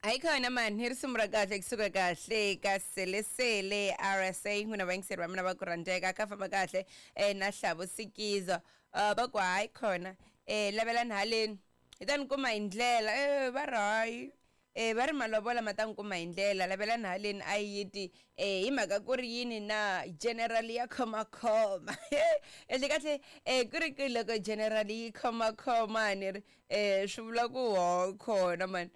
Ayikhona mani hi risimu ra kahle kusuka kahle ka selesele RSA n'wina vayingiseri va mina va ku rhandzeka ka famba kahle na Hlavo Sikiza va ku hayi khona lavelani haleni hi ta ni kuma hi ndlela va ri hayi va ri malovola ma ta ni kuma hi ndlela lavelani haleni a yi ti hi mhaka ku ri yini na general ya khomakhoma kahle kahle ku ri ku loko general yi khomakhoma ni ri swi vula ku ho khona mani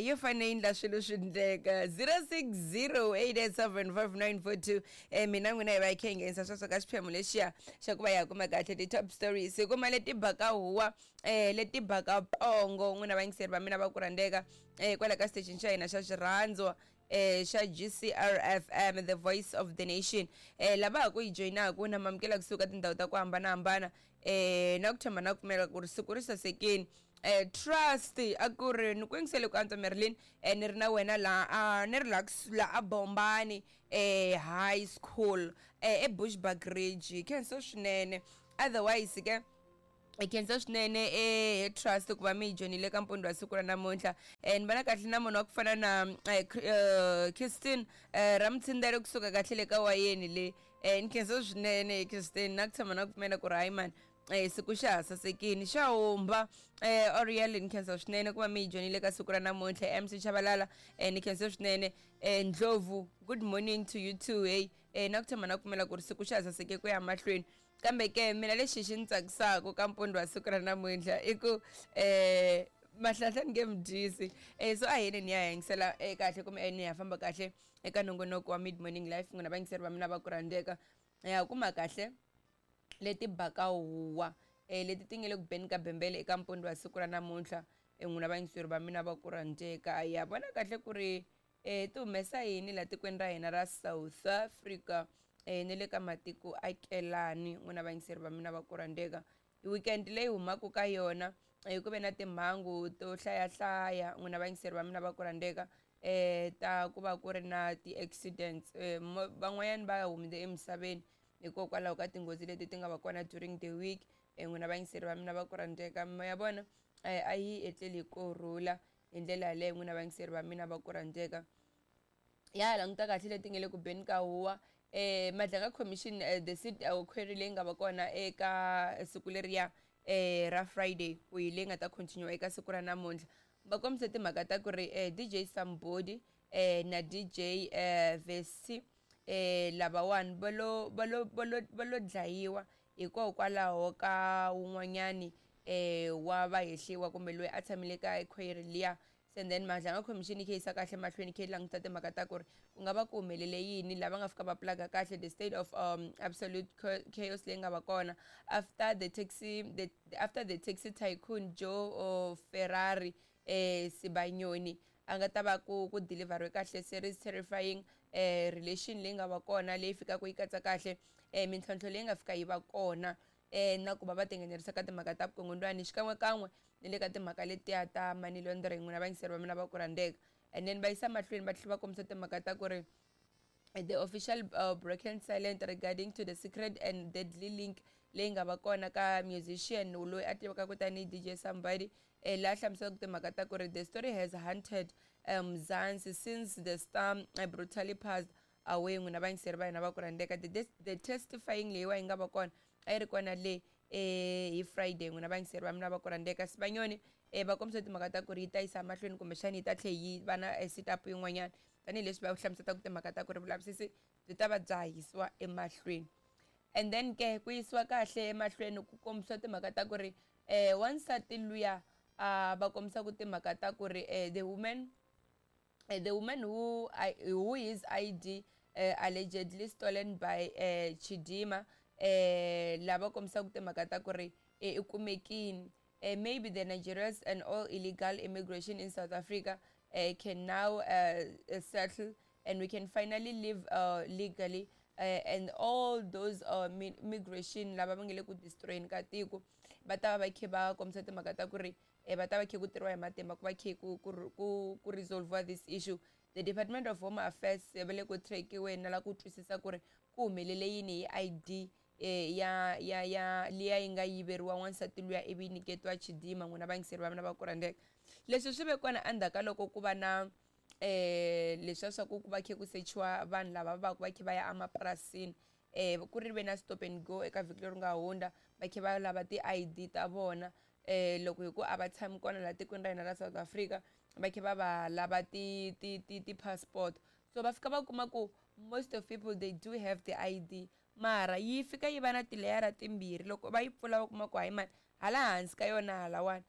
yo fanele yi endla swilo swi ndleka 0608875942 mina n'wina hi va hi kha hi nghenisa sweswo ka xiphemu lexiya xa ku va ya kuma kahle ti-top stories hi kuma leti baka huwa leti baka pongo n'wina vayingiseri va mina va ku rhandzeka kwala ka station xa hina xa xirhandzwa xa GCRFM the voice of the nation lava ha ku yi joyinaku na mamukela kusuka tindhawu ta ku hambanahambana na ku tshemba na ku pfumela ku ri siku ri sasekini trust a ku ri ni ku yingisele ku antswa Marilyn ni ri na wena la a ni ri la la a Bombani high school eBushbuckridge khensa swinene otherwise ke hi khensa swinene he trust ku va mi yi joyinile ka mpundzu wa siku ra namuntlha ni vona kahle na munhu wa ku fana na Kirsten Ramtsindele kusuka kahle le ka wayeni le ni khensa swinene Kirsten na ku tshama na ku pfumela ku ri hayi mani siku xa ha sasekini xa humba Oriel ni khensa swinene ku va mi yi joyinile ka siku ra namuntlha MC Chabalala ni khensa swinene Ndlovu good morning to you too hey na ku tshama na ku pfumela ku ri siku xa ha saseke ku ya mahlweni kambe ke mina lexi xi ni tsakisaka ka mpundzu wa siku ra namuntlha i ku mahlahla ni nge mi dyisi so a hi yeni ni ya yingisela kahle kumbe ni ya famba kahle eka nongonoko wa mid morning life n'wina vayingiseri va mina va ku rhandzeka ya kuma kahle leti baka huwa leti ti nga le ku beni ka bembele eka mpundzu wa siku ra namuntlha n'wina vayingiseri va mina va ku rhandzeka ya vona kahle ku ri ti humesa yini la tikweni ra hina ra South Africa ni le ka matiko akelani n'wina vayingiseri va mina va ku rhandzeka weekend leyi humaka ka yona ku ve na timhangu to hlayahlaya n'wina vayingiseri va mina va ku rhandzeka ta ku va ku ri na ti-accidents van'wanyana va humile emisaveni hikokwalaho ka tinghozi leti ti nga va kona during the week n'wina vayingiseri va mina va ku rhandzeka ya vona a yi etleli hi kurhula hi ndlela yaleyo n'wina vayingiseri va mina va ku rhandzeka ya languta kahle leti nga le ku beni ka huwa Madlanga Commission the seat query leyi nga va kona eka siku leriya ra Friday ku hi leyi nga ta continue eka siku ra namuntlha va kombise timhaka ta ku ri DJ Sambodi na DJ Vesi lavawani va lo va lo va lo va lo dlayiwa hikokwalaho ka wun'wanyani wa vahehliwa kumbe loyi a tshamile ka query liya se then Madlanga Commission yi khe yisa kahle mahlweni khe yi languta timhaka ta ku ri ku nga va ku humelele yini lava nga fika va plug kahle the state of absolute chaos leyi nga va kona after the taxi the, after the taxi tycoon Joe Ferrari Sibanyoni a nga ta va ku ku deliveriwe kahle series terrifying relation leyi nga va kona leyi fikaka yi katsa kahle mintlhontlho leyi nga fika yi va kona na ku va va tinghenelerisa ka timhaka ta vukungundzwani xikan'wekan'we ni le ka timhaka letiya ta money laundering n'wina vayingiseri va mina va ku rhandzeka and then va yisa mahlweni va tlhela va kombisa timhaka ta ku ri the official broken silent regarding to the secret and deadly link leyi nga va kona ka musician loyi a tivekaka tanihi DJ Somebody laha hlamuselaka timhaka ta ku ri the story has hunted Mzansi since the star brutally passed away n'wina vayingiseri va hina va ku rhandzeka the testifying leyiwa yi nga va kona a yi ri kona le hi Friday n'wina vayingiseri va mina va ku rhandzeka Sibanyoni va kombisa timhaka ta ku ri yi ta yisa mahlweni kumbexana yi ta tlhe yi va na sit up yin'wanyana tanihileswi va hlamuselaka timhaka ta ku ri vulavisisi byi ta va bya ha yisiwa emahlweni and then ke ku yisiwa kahle emahlweni ku kombisiwa timhaka ta ku ri wansati luya va kombisaka timhaka ta ku ri the woman the woman who I, who his ID allegedly stolen by Chidima lava kombisaka timhaka ta ku ri i kumekini maybe the Nigerians and all illegal immigration in South Africa can now settle and we can finally live legally and all those migration lava va nga le ku destroyeni ka tiko va ta va va khe va kombisa timhaka ta ku ri va ta va khe ku tirhiwa hi matimba ku va khe ku ku ku ku resolve this issue the Department of Home Affairs va le ku trackiweni na la ku twisisa ku ri ku humelele yini hi ID ya ya ya liya yi nga yiveriwa n'wansati luya ivi yi nyiketiwa Chidima n'wina vayingiseri va mina va ku rhandzeka leswi swi ve kona endzhaku ka loko ku va na Leswiya swa ku ku va khe ku sechiwa vanhu lava va va khe va ya emapurasini, ku ri ve na stop and go eka vhiki leri nga hundza, va khe va lava ti-ID ta vona. Loko hi ku a va tshami kona laha tikweni ra hina ra South Africa, va khe va va lava ti ti ti ti-passport. So va fika va kuma ku most of people, they do have the ID, mara yi fika yi va na tileyara timbirhi. Loko va yi pfula, va kuma ku hayi mani, hala hansi ka yona halawani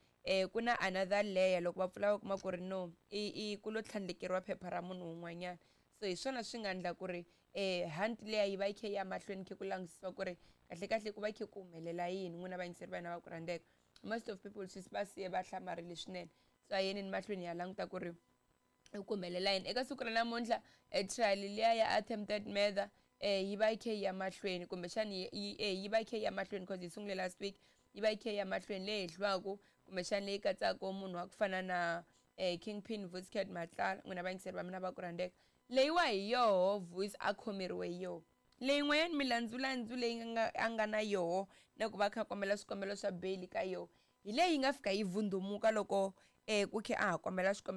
ku na another layer. Loko va pfula, va kuma ku ri no, i ku lo tlhandlekeriwa phepha ra munhu un'wanyana. So hi swona swi nga endla ku ri hunt leya yi va yi khe yi ya mahlweni, khe ku langutisiwa ku ri kahle kahle ku va khe ku humelela yini. N'wina vayingiseri va hina va ku rhandzeka, most of people swi va siye va hlamarile swinene. So a yeneni mahlweni hi ya languta ku ri ku humelela yini eka siku ra namuntlha. Trial liya ya attempted murder yi va yi khe yi ya mahlweni, kumbexani yi va yi khe yi ya mahlweni cause yi sungule last week. Yi va yi khe yi ya mahlweni, leyi hehliwaka kumbexani leyi katsaka munhu wa ku fana na Kingpin Vusi Cat Matlala. N'wina vayingiseri va mina va ku rhandzeka, leyiwa hi yoho Vusi a khomeriwe yoho. Leyin'wanyana milandzulandzu leyi nga a nga na yoho na ku va kha kombela swikombelo swa bail ka yoho, hi leyi nga fika yi vundumuka loko ku khe a ha kombela xikombelo.